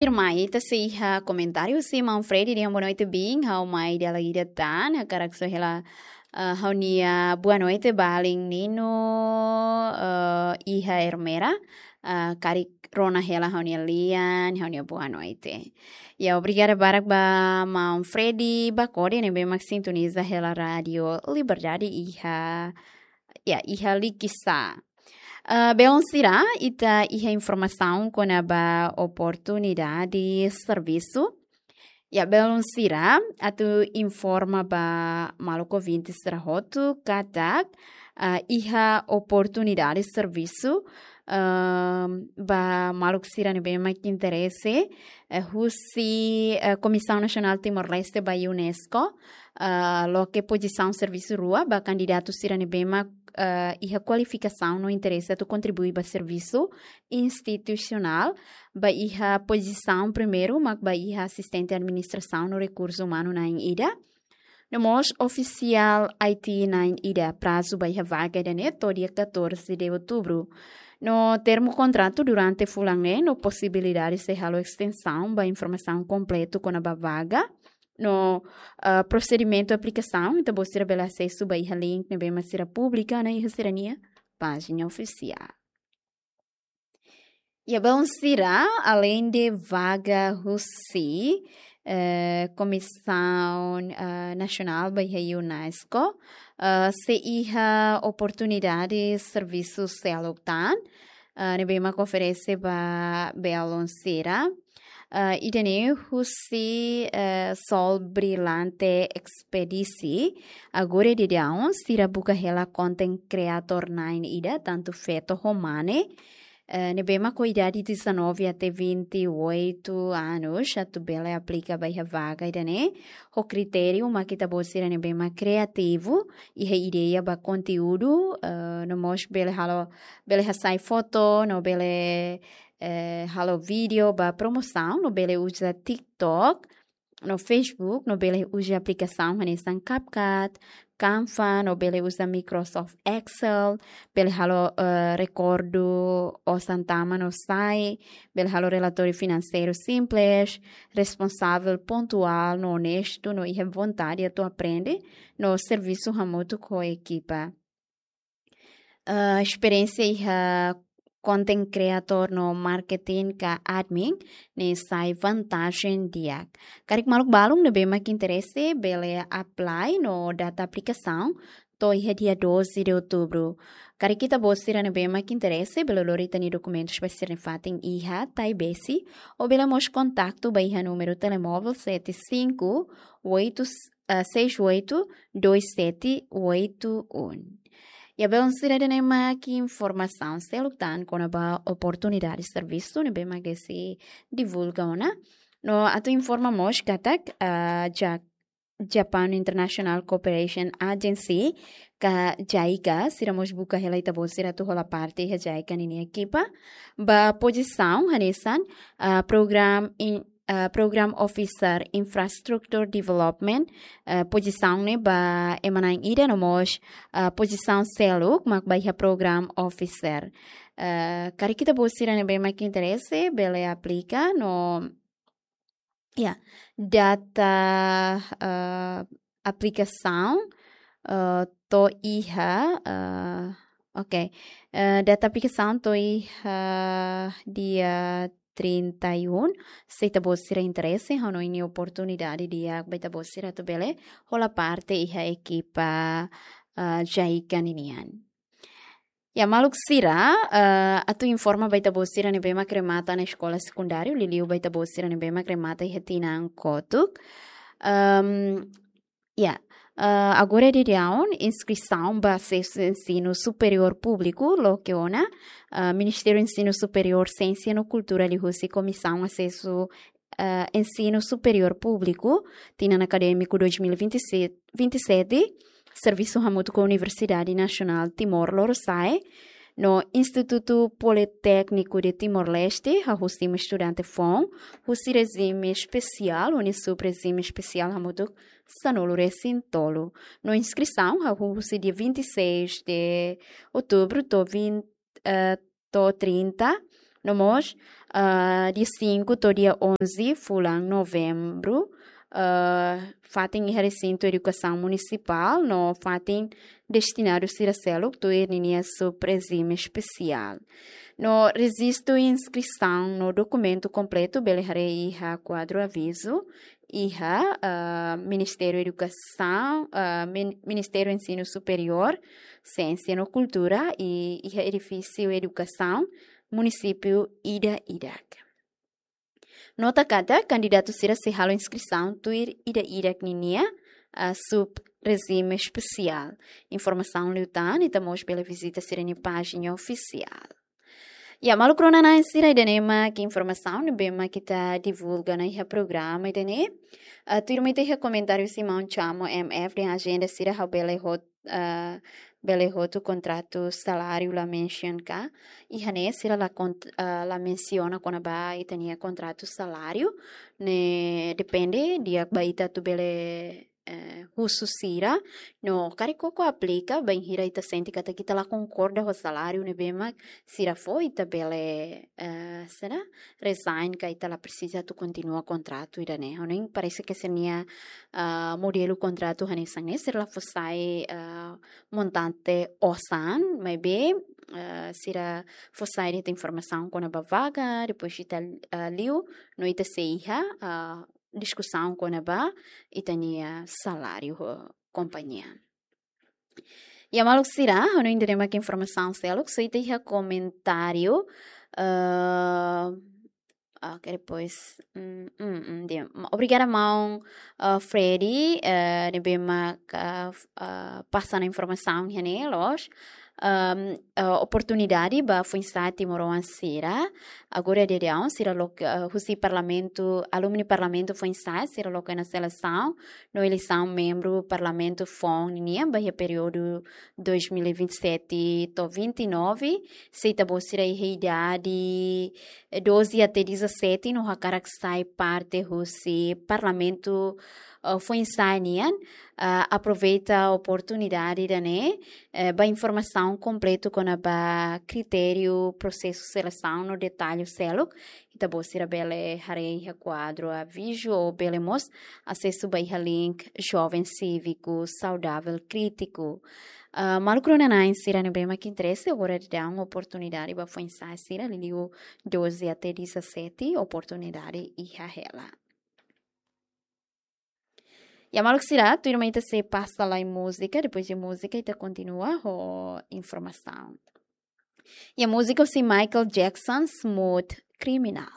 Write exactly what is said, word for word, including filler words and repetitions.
Irma, ita sei iha komentáriu husi Manfredi dehan boa noite, bin, ha'u mai dala ida tan, hakarak soe hela, eh, ha'u-nia boa noite ba alin Nino, eh, iha Ermera, eh, karik rona hela ha'u-nia lian, ha'u-nia boa noite. Ya, obrigada barak ba Manfredi Bakode, ne'ebé mak sintoniza hela Rádio Liberdade iha, ya, iha Likisá. Eh, belun sira, ita iha informasaun kona-ba oportunidade servisu. Ya, belun sira, atu informa ba maluk ouvinte sira hotu katak, eh, iha oportunidade servisu, ehm, ba maluk sira ne'ebé mak interese, eh, husi, eh, Komisaun Nasionál Timor-Leste ba UNESCO, eh, loke pozisaun servisu rua ba kandidatu sira ne'ebé mak, eh, iha kualifikasaun no interese atu kontribui ba servisu institusionál, ba iha pozisaun primeiru mak ba iha asistente administrasaun no rekursu umanu na'in ida. No mós ofisiál I T na'in ida. Prazu ba iha vaga ida-ne'e to'o dia catorze de outubro. No termu kontratu durante fulan ne'e, no posibilidade sei halo estensaun. Ba informasaun kompletu kona-ba vaga no, ah, prosedimentu aplikasaun, ita-boot sira bele asesu ba iha link ne'ebé mak sira publika ona iha sira-nia pájina ofisiál. Ya, belun sira, aleinde vaga husi, eh, Komisaun, eh, Nasionál ba iha UNESCO, eh, sei iha oportunidade servisu seluk tan, eh, ne'ebé mak oferese ba belun sira. Eh, ida-ne'e husi, eh, Sol Brilante Expedisi. Agora daudaun sira buka hela content creator na'in ida, tantu feto ho mane, eh, ne'ebé mak ho idade dezanove até vinte e oito anos, atu bele aplika ba iha vaga ida-ne'e. Ho kritériu mak ita-boot sira ne'ebé mak kriativu, iha ideia ba konteúdu, eh, no mós bele halo, bele hasai foto, no bele, eh, halo vídeo ba promosaun, no bele uza TikTok, no Facebook, no bele uza aplikasaun hanesan CapCut, Canva, no bele uza Microsoft Excel, bele halo, eh, rekordu osan tama no sai, bele halo relatóriu finanseiru simples, responsavel, pontuál, no onestu, no iha vontade atu aprende, no servisu hamutuk ho ekipa. Eh, esperiénsia iha content creator no marketing ka admin ne'e sai vantajen di'ak. Karik maluk balun ne'ebé mak interese bele apply no data aplikasaun to'o iha dia doze de outubro. Karik ita-boot sira ne'ebé mak interese bele lori ita-nia dokumentus ba sira-nia fatin iha Taibesi, ou bele mós kontaktu ba iha númeru telemóvel sete cinco oito, eh, seis oito dois sete oito um. Ya, belun sira, ida-ne'e mak informasaun seluk tan kona-ba oportunidade servisu ne'ebé mak sei divulga ona. No atu informa mós katak, ah, Ja-, Japan International Cooperation Agency ka JICA, sira mós buka hela ita-boot sira atu hola parte iha JICA ninia ekipa ba pozisaun hanesan, ah, program in-, eh, Program Officer Infrastructure Development, eh, pozisaun ne'e ba ema na'in ida, no mós, eh, pozisaun seluk mak ba iha Program Officer. Eh, karik ita-boot sira ne'ebé mak interese bele aplika no, ya, data, eh, aplikasaun, eh, to'o iha, eh, oke. Eh, data aplikasaun to'o iha dia trinta e um. Se ita-boot sira interese, ha'u hanoin ne'e oportunidade di'ak ba ita-boot sira atu bele hola parte iha ekipa, eh, JICA ninian. Ya, maluk sira, eh, atu informa ba ita-boot sira ne'ebé mak remata ona eskola sekundáriu, liuliu ba ita-boot sira ne'ebé mak remata iha tinan kotuk. Ehm, ya, eh, agora daudaun inskrisaun ba asesu ensinu superiór públiku loke ona, eh, Ministériu Ensinu Superiór, Siénsia no Kultura liuhusi Komisaun Asesu, eh, Ensinu Superiór Públiku, tinan akadémiku dois mil e vinte e sete, vinte e sete, servisu hamutuk ho Universidade Nasionál Timor Lorosa'e, no Institutu Politékniku de Timor-Leste, hahú simu estudante foun husi rejime espesiál, ho nia sub-rejime espesiál hamutuk sanulu-resin-tolu. No inskrisaun hahú husi dia vinte e seis de outubro to'o vinte, eh, to'o trinta No mós, ah, dia cinco to'o dia onze fulan Novembru, ah, fatin iha resintu edukasaun munisipál no fatin destinadu sira seluk tuir ninia sub-rejime espesiál. No rejistu inskrisaun no dokumentu kompletu bele haree iha kuadru avizu iha, ah, Ministériu Edukasaun, ah, Min-, Ministériu Ensinu Superiór, Siénsia no Kultura i iha edifísiu edukasaun munisípiu ida-idak. Nota katak kandidatu sira sei halo inskrisaun tuir ida-idak ninia, ah, sub-rejime espesiál. Informasaun liután ita mós bele vizita sira-nia pájina ofisiál. Ya, maluk rona-na'in sira, ida-ne'e mak informasaun ne'ebé mak ita divulga ona iha programa ida-ne'e. Ah, tuirmai ita iha komentáriu husi maun Chamo M F dehan ajenda sira ha'u bele hot-, ah, bele hotu kontratu saláriu la mention ka. Iha ne'e sira la kont-, ah, la mensiona kona-ba ita-nia kontratu saláriu. Ne'e depende di'ak ba ita atu bele, eh, husu sira. No karik koko aplika, bainhira ita sente katak ita la konkorda ho saláriu ne'ebé mak sira fó, ita bele, eh, sira resign ka ita la presiza atu kontinua kontratu ida-ne'e. Ha'u-nia parese ke sira-nia, ah, modelu kontratu hanesan ne'e, sira la fó sai, ah, montante osan, maibé, ah, sira fó sai de'it informasaun kona-ba vaga, depois ita, ah, liu, no ita sei iha, ah, diskusaun kona-ba ita-nia saláriu ho kompañia. Ya, maluk sira, ha'u hanoin ida-ne'e mak informasaun seluk, só ita iha komentáriu, eh, oke, depois, mm, mm, mm, di'ak. Ma-, obrigada, maun, eh, Freddy, eh, ne'ebé mak, eh, f-, eh, pasa ona informasaun iha ne'e, loos. Ehm, eh, oportunidade ba foin-sa'e timoroan sira. Agora daudaun sira loke, eh, husi Parlamentu, alumni Parlamentu foin-sa'e, sira loke ona selesaun no eleisaun membru Parlamentu foun ninian ba iha períodu dois mil e vinte e sete to'o vinte e nove, se ita-boot sira iha idade, eh, doze até dezassete, no hakarak sai parte husi Parlamentu, eh, foin-sa'e nian, eh, aproveita oportunidade ida-ne'e, eh, ba informasaun kompletu kona-ba kritériu, prosesu selesaun no detallu seluk, ita-boot sira bele haree iha kuadru avizu ou bele mós asesu ba iha link Joven Cívico Saudável Crítico. Ah, maluk rona-na'in sira ne'ebé mak interese, agora daudaun oportunidade ba foin-sa'e sira, liuliu doze até dezassete, oportunidade iha hela. Ya, maluk sira, tuirmai ita sei pasa lai múzika, depois de múzika ita kontinua ho informasaun. Ya, múzika husi Michael Jackson, Smooth Criminal.